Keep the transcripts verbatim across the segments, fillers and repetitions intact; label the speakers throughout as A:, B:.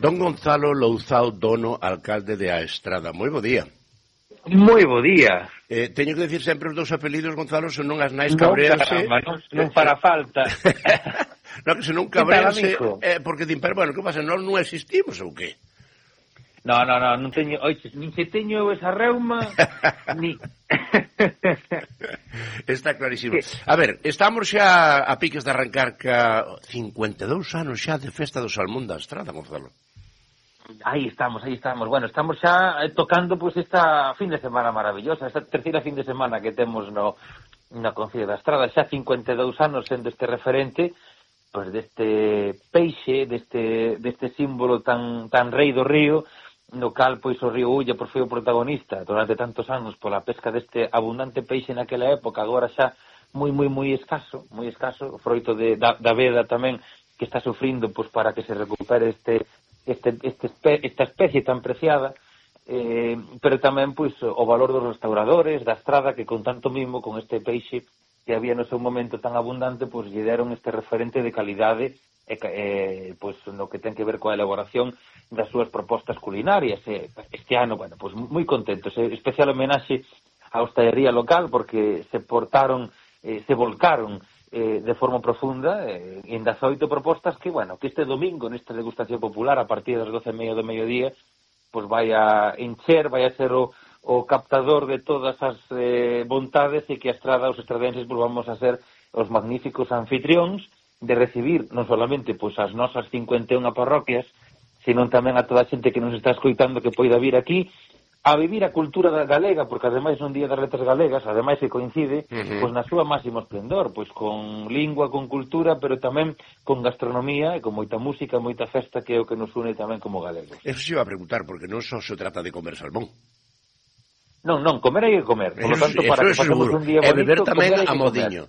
A: Don Gonzalo Louzao Dono, alcalde de A Estrada. Moi bo día.
B: Moi bo día.
A: Eh, teño que decir sempre os dous apelidos, Gonzalo, se non as nais
B: non,
A: cabreanse...
B: Caramba, non, non para falta.
A: Non, que se non cabreanse... Eh, porque din, pero bueno, que pasa, nós non existimos ou que?
B: No, no, no, non teño... Oixe, nin se teño esa reuma, ni...
A: Está clarísimo. A ver, estamos xa a piques de arrancar ca cincuenta e dous anos xa de Festa do Salmón da Estrada, Gonzalo.
B: Aí estamos, aí estamos. Bueno, estamos xa tocando pues esta fin de semana maravillosa, esta terceira fin de semana que temos no na Concello da Estrada, xa cincuenta e dous anos sendo este referente pues deste peixe, deste deste símbolo tan tan rei do río, no cal pois o río Ulla por foi o protagonista durante tantos anos pola pesca deste abundante peixe naquela época, agora xa moi moi moi escaso, moi escaso, froito de da, da veda tamén que está sufrindo pois para que se recupere este este este esta especie tan preciada, eh, pero tamén pois o valor dos restauradores da Estrada que con tanto mimo con este peixe que había no seu momento tan abundante, pois lle deron este referente de calidade e eh, pois no que ten que ver coa elaboración das súas propostas culinarias. Eh, este ano, bueno, pois moi contentos, eh, especial homenaxe á hostalería local porque se portaron, eh, se volcaron eh, de forma profunda eh, en dezaoito propostas que, bueno, que este domingo nesta degustación popular a partir das doce e media do mediodía pois vai a encher, vai a ser o o captador de todas as eh, vontades e que a Estrada, os estradenses, pois vamos a ser os magníficos anfitrións de recibir non solamente pois as nosas cincuenta e unha parroquias, senón tamén a toda a xente que nos está escoitando que poida vir aquí a vivir a cultura da galega, porque ademais non Día das Letras Galegas, ademais que coincide uh-huh. pois na súa máximo esplendor, pois con lingua, con cultura, pero tamén con gastronomía e con moita música, moita festa que é o que nos une tamén como galegos.
A: Eso se iba a preguntar, porque non só se trata de comer salmón.
B: Non, non, comer hai que comer. Por lo tanto, para que pasemos un día bonito,
A: e beber tamén a modiño.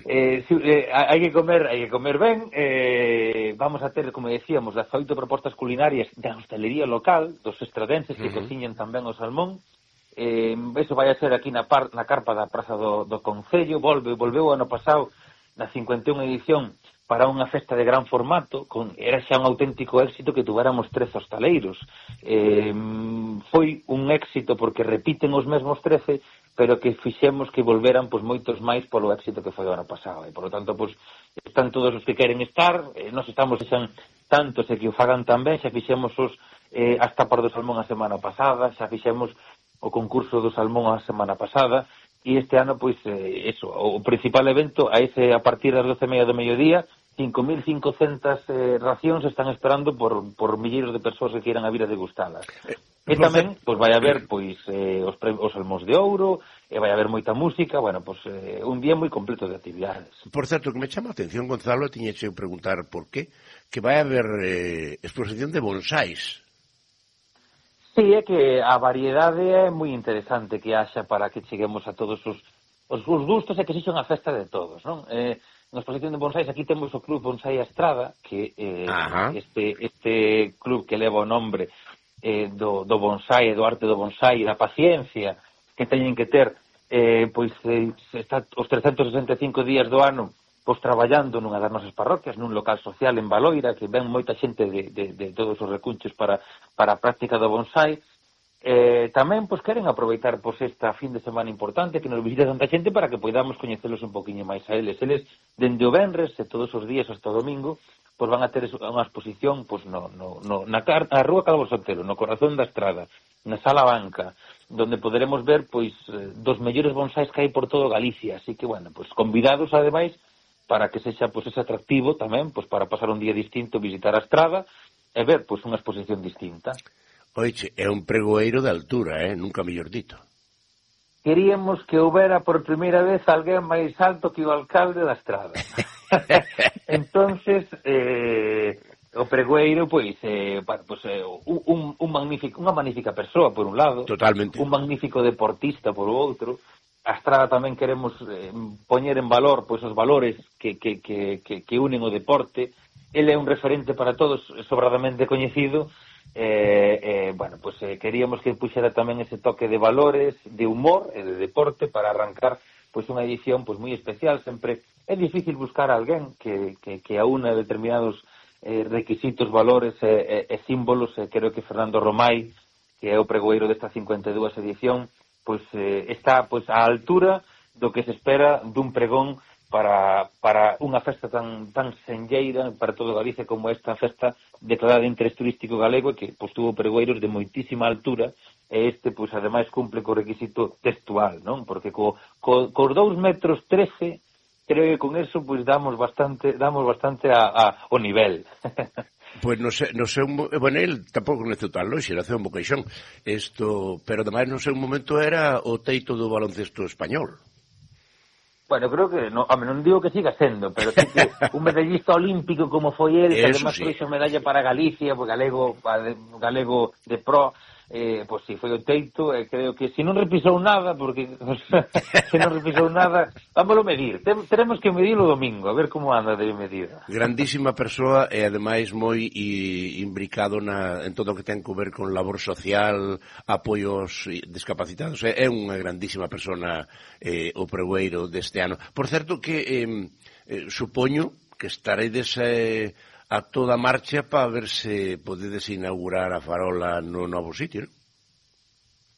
B: Eh, si, eh, hai que comer, hai que comer ben. Eh, vamos a ter, como decíamos, dezaoito propostas culinarias da hostalería local, dos estradenses que uh-huh. cociñan tamén o salmón. Eh, eso vai a ser aquí na, par, na carpa da Praza do, do Concello. Volve, volveu o ano pasado na cincuenta e unha edición para unha festa de gran formato, con, era xa un auténtico éxito que tuvéramos trece hostaleiros. Eh, foi un éxito porque repiten os mesmos trece, pero que fixemos que volveran pois moitos máis polo éxito que foi o ano pasado. E, por lo tanto, pois, están todos os que queren estar, eh, nos estamos xan tantos e que o fagan tamén, xa fixemos os, eh, as tapas do salmón a semana pasada, xa fixemos o concurso do salmón a semana pasada, e este ano, pois, eh, eso, o principal evento, a ese a partir das doce e media do mediodía, cinco mil cincocentas eh, racións están esperando por, por milleiros de persoas que queiran a vir a degustalas. E tamén, pois, vai haber, pois, eh, os, os salmóns de ouro, e vai haber moita música, bueno, pois, eh, un día moi completo de actividades.
A: Por certo, que me chama a atención, Gonzalo, tiña que preguntar por qué, que vai haber eh, exposición de bonsáis.
B: Sí, é que a variedade é moi interesante que haxa para que cheguemos a todos os, os, os gustos e que se unha festa de todos, non? Eh, na exposición de bonsáis aquí temos o Club Bonsai Estrada, que eh, este, este club que leva o nombre eh, do, do bonsai, do arte do bonsai, da paciencia que teñen que ter eh, pois eh, está os trescentos sesenta e cinco días do ano pois traballando nunha das nosas parroquias, nun local social en Baloira, que ven moita xente de, de, de todos os recunchos para, para a práctica do bonsai. Eh, tamén pois queren aproveitar pois esta fin de semana importante que nos visita tanta xente para que podamos coñecelos un poquinho máis a eles. Eles, dende o venres e todos os días hasta o domingo, pois van a ter unha exposición pois no, no, no, na, na Rúa Calvo Sotelo, no corazón da Estrada, na Sala Banca, donde poderemos ver pois dos mellores bonsais que hai por todo Galicia. Así que, bueno, pois convidados ademais para que sexa pois ese atractivo tamén pois para pasar un día distinto, visitar a Estrada e ver pois unha exposición distinta.
A: Oiche, é un pregoeiro de altura, eh? Nunca mellor dito.
B: Queríamos que houbera por primeira vez alguén máis alto que o alcalde da Estrada. Entonces, eh, o pregoeiro, pois, eh, pois eh, un, un magnífico, unha magnífica persoa, por un lado.
A: Totalmente.
B: Un magnífico deportista, por o outro. A Estrada tamén queremos eh, poñer en valor pois os valores que, que, que, que, que unen o deporte. Ele é un referente para todos, sobradamente coñecido. Eh, eh, bueno, pues eh, queríamos que puxera tamén ese toque de valores, de humor e de deporte para arrancar pois unha edición pois moi especial. Sempre é difícil buscar a alguén que, que, que aúna determinados eh, requisitos, valores e, e, e símbolos, e creo que Fernando Romai, que é o pregoeiro desta cincuenta e dúas edición, pois eh, está pois á altura do que se espera dun pregón para, para unha festa tan tan senlleira para todo Galicia como esta festa declarada de interés turístico galego, que pois tuvo pregoeiros de moitísima altura, e este pois ademais cumple co requisito textual, non? Porque co, co, cos dous metros trece creo que con eso pois damos bastante damos bastante a, a o nivel.
A: Pois no sei, no sei, bueno, el tampouco naceu tan longe, naceu en Boqueixón, isto, pero ademais no sei un momento era o teito do baloncesto español.
B: Bueno, creo que, no, home, non digo que siga sendo, pero sí que un medallista olímpico como foi el, que además sí. Fixo medalla para Galicia, pues, galego, galego de pro, eh, pois pues, si sí, foi o teito, e eh, creo que se non repisou nada, porque se non repisou nada, vámoslo medir, Tem, teremos que medir o domingo, a ver como anda de medida.
A: Grandísima persoa e ademais moi i, imbricado na, en todo o que ten que ver con labor social, apoios discapacitados, é, é unha grandísima persona eh, o pregoeiro deste ano. Por certo que eh, eh, supoño que estaredes eh, a toda marcha para ver se podedes inaugurar a farola no novo sitio, non?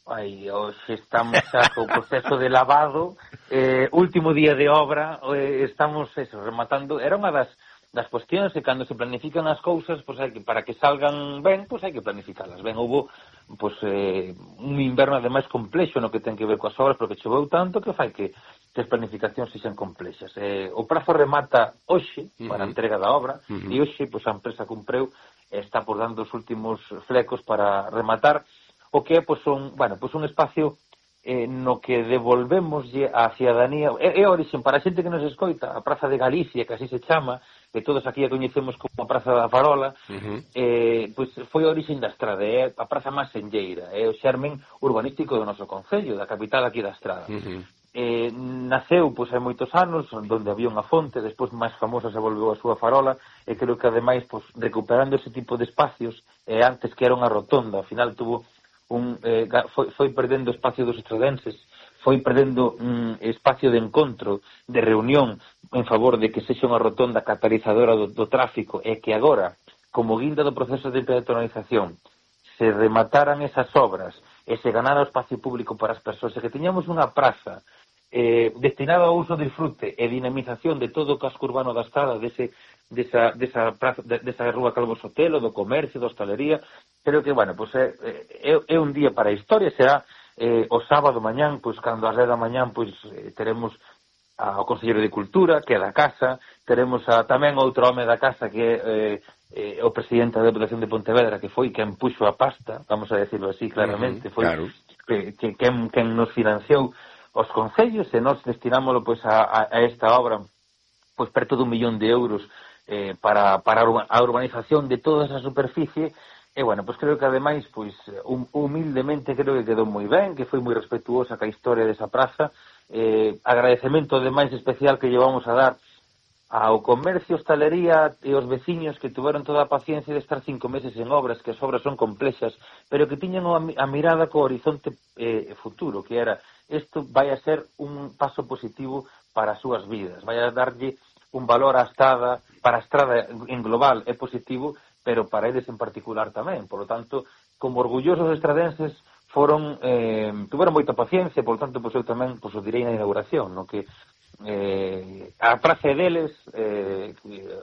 B: Ai, hoxe estamos xa co proceso de lavado, eh, último día de obra, eh, estamos eso, rematando, era unha das das cuestións e cando se planifican as cousas, pois hai que, para que salgan ben, pois hai que planificalas ben. Houbo pois, eh, un inverno ademais complexo no que ten que ver coas obras, porque choveu tanto que fai que, que as planificacións sexan complexas. Eh, o prazo remata hoxe para a entrega da obra, uh-huh. e hoxe pois, a empresa cumpreu e está por dando os últimos flecos para rematar o que é pois, un, bueno, pois, un espacio eh, no que devolvemoslle a cidadanía, é, é a origen para a xente que nos escoita, a Praza de Galicia, que así se chama, que todos aquí a coñecemos como a Praza da Farola, uh-huh. eh, pois foi a origen da Estrada, é a praza máis senlleira, é o xermen urbanístico do noso concello, da capital aquí da Estrada. Uh-huh. Eh, naceu pois hai moitos anos, onde había unha fonte, despois máis famosa se volveu a súa farola, e creo que ademais pois, recuperando ese tipo de espacios, eh, antes que era unha rotonda, ao final tuvo un, eh, foi, foi perdendo espacio dos estradenses, foi perdendo un espacio de encontro, de reunión en favor de que sexa unha rotonda catalizadora do, do tráfico, e que agora, como guinda do proceso de peatonalización, se remataran esas obras e se ganara o espacio público para as persoas, e que teñamos unha praza eh, destinada ao uso, disfrute e dinamización de todo o casco urbano da Estrada, dese, desa, desa, praza, de, desa rúa Calvo Sotelo, do comercio, da hostalería. Creo que, bueno, pues é, é, é un día para a historia, será eh, o sábado mañán, pois cando ás dez da mañán pois eh, teremos ao Conselleiro de Cultura, que é da casa, teremos a, tamén outro home da casa que é eh, eh, o presidente da Deputación de Pontevedra, que foi quen puxo a pasta, vamos a decirlo así claramente, uh-huh, foi claro. que, que, quen, quen nos financiou os concellos, e nós destinámoslo pois a, a, a esta obra pois perto dun millón de euros eh, para, para a urbanización de toda esa superficie. E, bueno, pois creo que, ademais, pois, hum, humildemente creo que quedou moi ben, que foi moi respetuosa ca historia desa praza. Eh, agradecemento, ademais, especial que llevamos a dar ao comercio, hostalería e os veciños que tuveron toda a paciencia de estar cinco meses en obras, que as obras son complexas, pero que tiñan a mirada co horizonte eh, futuro, que era, isto vai a ser un paso positivo para as súas vidas, vai a darlle un valor á Estrada, para a Estrada en global é positivo, pero para eles en particular tamén. Por lo tanto, como orgullosos estradenses, foron, eh, tuveron moita paciencia, por lo tanto, pois eu tamén pois, o direi na inauguración, no que eh, a praza deles, eh,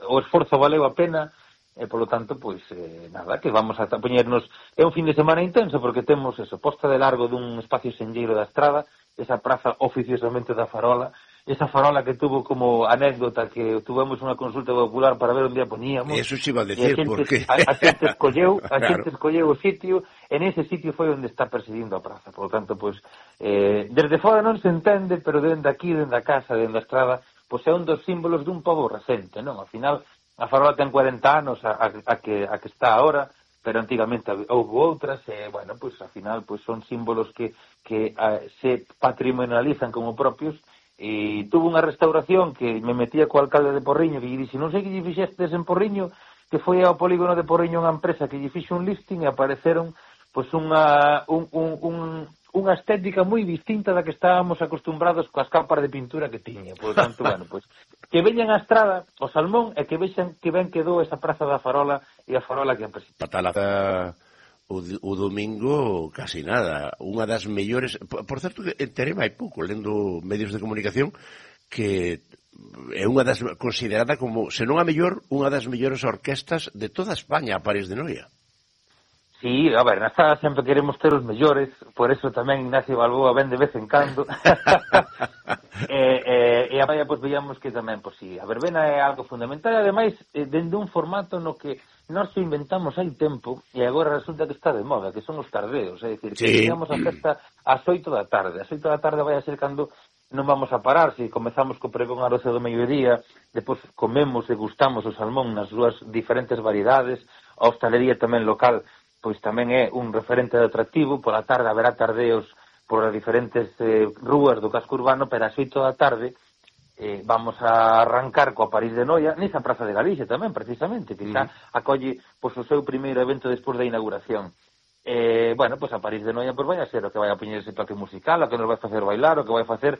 B: o esforzo valeu a pena, e, por lo tanto, pois, eh, nada, que vamos a poñernos, é un fin de semana intenso, porque temos eso, posta de largo dun espacio senlleiro da Estrada, esa praza oficiosamente da Farola, esa farola que tuvo como anécdota que tuvemos unha consulta popular para ver onde a poñíamos.
A: Eso se iba a decir,
B: a xente,
A: porque...
B: A, a xente escolleu, a
A: claro.
B: xente escolleu o sitio, en ese sitio foi onde está presidindo a praza. Por lo tanto, pois, eh, desde fora non se entende, pero dende aquí, dende a casa, dende a Estrada, pois é un dos símbolos dun pobo recente, non? Ao final, a farola ten cuarenta anos a, a, a, que, a que está agora, pero antigamente houve outras, e, bueno, pois, ao final, pois, son símbolos que, que a, se patrimonializan como propios. E tuvo unha restauración que me metía co alcalde de Porriño, que lle dixe, non sei que lle fixestes en Porriño, que foi ao polígono de Porriño unha empresa que lle fixe un listing e apareceron pois unha, un, un, un, unha estética moi distinta da que estábamos acostumbrados coas capas de pintura que tiña. Por tanto, bueno, pois, que veñan a estrada o Salmón e que vexan que ben quedou esa praza da Farola e a Farola que a presenta.
A: Patalaza o, o domingo casi nada. Unha das mellores... Por, por certo, enterei hai pouco, lendo medios de comunicación, que é unha das considerada como, se non a mellor, unha das mellores orquestas de toda España, a París de Noia.
B: Sí, a ver, na sala sempre queremos ter os mellores, por eso tamén Ignacio Balboa ven de vez en cando. e, e, e a vaya, pois, veíamos que tamén, pois, sí, a verbena é algo fundamental, e ademais, eh, dende un formato no que nós o inventamos hai tempo, e agora resulta que está de moda, que son os tardeos, é dicir, que sí. Teníamos a festa ás oito da tarde, ás oito da tarde vai a ser cando non vamos a parar, se comezamos co pregón a doce do mediodía, depois comemos e gustamos o salmón nas súas diferentes variedades, a hostalería tamén local, pois tamén é un referente de atractivo, pola tarde haberá tardeos por as diferentes eh, rúas do casco urbano, pero ás oito da tarde eh, vamos a arrancar coa París de Noia, nesa Praza de Galicia tamén, precisamente, que xa acolle pois, o seu primeiro evento despois da inauguración. Eh, bueno, pois a París de Noia pois vai a ser o que vai a poñer ese toque musical, o que nos vai facer bailar, o que vai facer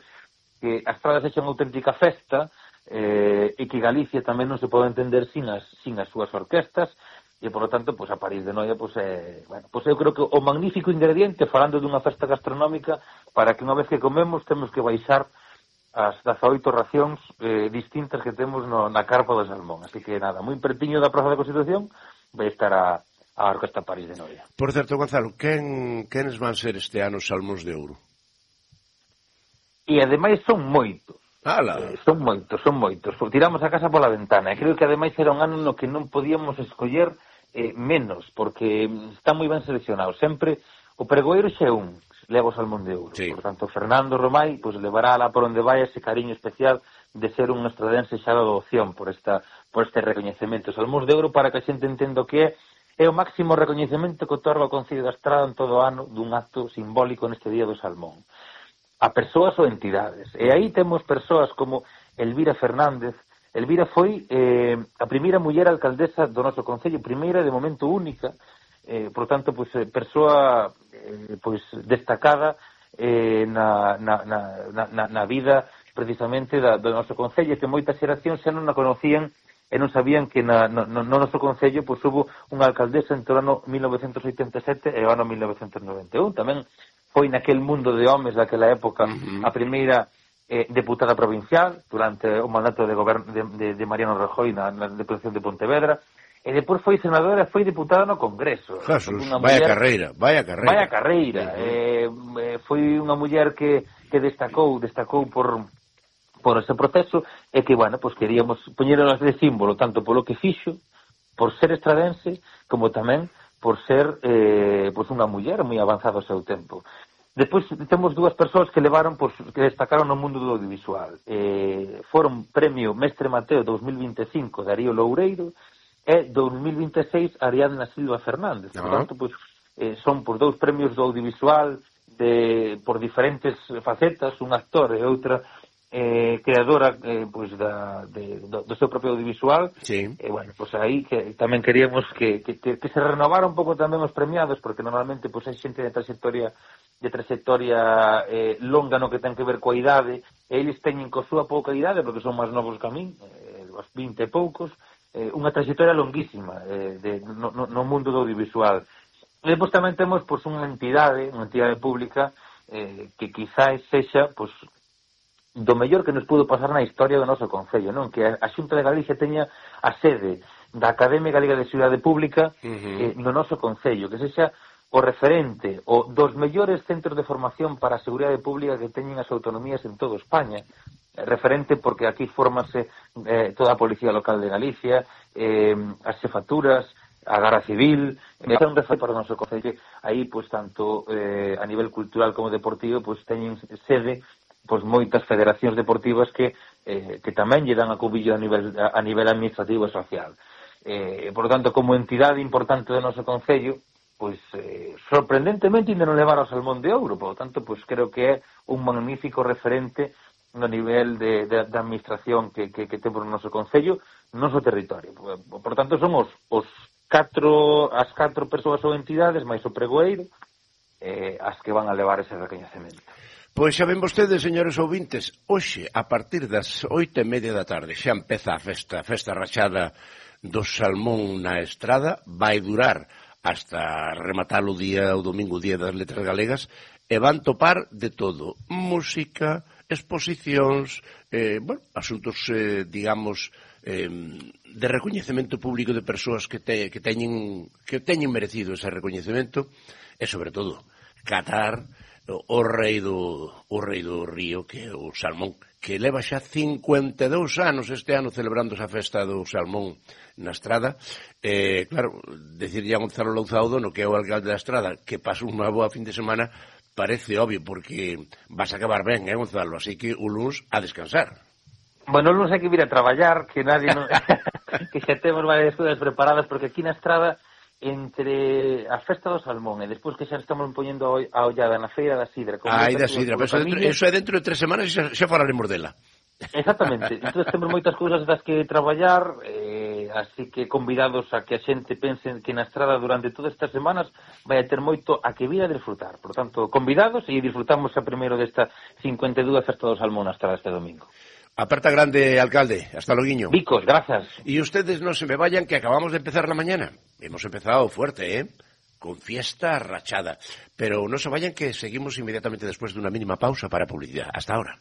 B: que a estrada sexa unha auténtica festa, eh, e que Galicia tamén non se pode entender sin as, sin as súas orquestas, e, por lo tanto, pues, a París de Noia, pues, eh, bueno, pues eu creo que o magnífico ingrediente, falando dunha festa gastronómica, para que unha vez que comemos temos que baixar as dezaoito racións eh, distintas que temos no, na carpa do salmón. Así que, nada, moi pertiño da Praza da Constitución vai estar a, a Orquesta París de Noia.
A: Por certo, Gonzalo, quen, quenes van ser este ano os Salmóns de Ouro?
B: E, ademais, son moitos.
A: Eh,
B: son moitos, son moitos. Tiramos a casa pola ventana. E creo que, ademais, era un ano no que non podíamos escoller eh, menos, porque está moi ben seleccionado. Sempre o pregoeiro xa é un, leva o Salmón de Ouro. Sí. Por tanto, Fernando Romai pues, levará lá por onde vai ese cariño especial de ser un estradense xa de adopción por, esta, por este recoñecemento. O Salmón de Ouro, para que a xente entenda o que é, é o máximo recoñecemento que otorga o Concello da Estrada en todo o ano dun acto simbólico neste Día do Salmón. A persoas ou entidades. E aí temos persoas como Elvira Fernández. Elvira foi eh, a primeira muller alcaldesa do noso Concello, primeira de momento única, eh, por tanto, pois, persoa eh, pois, destacada eh, na, na, na, na, na vida precisamente da, do noso Concello, que moitas xeracións xa non a conocían e non sabían que na, no, no noso Concello pois, hubo unha alcaldesa entre o ano mil novecentos oitenta e sete e o ano mil novecentos noventa e un. Tamén foi naquel mundo de homes daquela época uh-huh. a primeira eh, deputada provincial durante o mandato de, govern- de, de, de Mariano Rajoy na, na Deputación de Pontevedra, e depois foi senadora e foi diputada no Congreso.
A: Jesús, vaya muller, carreira, vaya carreira.
B: Vaya carreira. Uh-huh. eh, eh, foi unha muller que, que destacou, destacou por, por ese proceso, e que, bueno, pues queríamos poñerolas de símbolo, tanto polo que fixo, por ser estradense, como tamén por ser eh, pues unha muller moi avanzada ao seu tempo. Depois temos dúas persoas que levaron, pues, que destacaron no mundo do audiovisual. Eh, foron premio Mestre Mateo dous mil vinte e cinco Darío Loureiro e dous mil vinte e seis Ariadna Silva Fernández. Uh-huh. Por tanto, pues, eh, son pues, dous premios do audiovisual de, por diferentes facetas, un actor e outra eh, creadora eh, pues, da, de, do, do seu propio audiovisual.
A: Sí.
B: E, bueno, pues aí que tamén queríamos que, que, que, que se renovara un pouco tamén os premiados, porque normalmente pues, hai xente de trayectoria de trayectoria eh, longa no que ten que ver coa idade, e eles teñen coa súa pouca idade, porque son máis novos que a min, eh, os vinte e poucos, eh, unha trayectoria longuísima eh, de, no, no, no mundo do audiovisual. E depois tamén temos pues, unha entidade, unha entidade pública eh, que quizás sexa pues, do mellor que nos pudo pasar na historia do noso Concello, non? Que a Xunta de Galicia teña a sede da Academia Galega de Seguridade Pública uh-huh. eh, no noso Concello, que sexa o referente o dos mellores centros de formación para a seguridade pública que teñen as autonomías en toda España. Eh, referente porque aquí formase eh, toda a Policía Local de Galicia, eh, as xefaturas, a Garda Civil, é eh, un referente para o noso Concello. Aí, pois, tanto eh, a nivel cultural como deportivo, pois, teñen sede pois moitas federacións deportivas que eh, que tamén lle dan a cubillo a nivel a, a nivel administrativo e social. Eh, por lo tanto, como entidade importante do noso Concello, pois eh, sorprendentemente ainda non levar ao Salmón de Ouro, por lo tanto, pois creo que é un magnífico referente no nivel de, de, de administración que, que, que temos no noso Concello, no noso territorio. Por, por tanto, son os, os catro, as catro persoas ou entidades, máis o pregoeiro, eh, as que van a levar ese recoñecemento.
A: Pois xa ven vostedes, señores ouvintes, hoxe, a partir das oito e media da tarde, xa empeza a festa, a festa rachada do salmón na Estrada, vai durar hasta rematar o día, o domingo, o día das letras galegas, e van topar de todo, música, exposicións, eh, bueno, asuntos, eh, digamos, eh, de recoñecemento público de persoas que, te, que, teñen, que teñen merecido ese recoñecemento, e, sobre todo, catar o rei do o rei do río, que é o salmón, que leva xa cincuenta e dous anos este ano celebrando esa festa do salmón na Estrada. Eh, claro, decirlle a Gonzalo Louzao no que é o alcalde da Estrada, que pasa unha boa fin de semana, parece obvio, porque vas a acabar ben, eh, Gonzalo? Así que o luns a descansar.
B: Bueno, o luns hai que vir a traballar, que nadie non... que xa temos varias cousas preparadas, porque aquí na Estrada, entre a festa do salmón e despois que xa estamos poñendo a ollada na feira da sidra.
A: Ai, da sidra, pero eso, dentro, eso é dentro de tres semanas e xa, xa falaremos dela.
B: Exactamente, entón temos moitas cousas das que traballar, eh, así que convidados a que a xente pense que na Estrada durante todas estas semanas vai a ter moito a que vir a disfrutar. Por tanto, convidados e disfrutamos a primeiro desta cincuenta e dúas festa do salmón na Estrada este domingo.
A: Aperta grande, alcalde. Hasta loguiño.
B: Vicos, gracias.
A: Y ustedes no se me vayan, que acabamos de empezar la mañana. Hemos empezado fuerte, ¿eh? Con fiesta rachada. Pero no se vayan, que seguimos inmediatamente después de una mínima pausa para publicidad. Hasta ahora.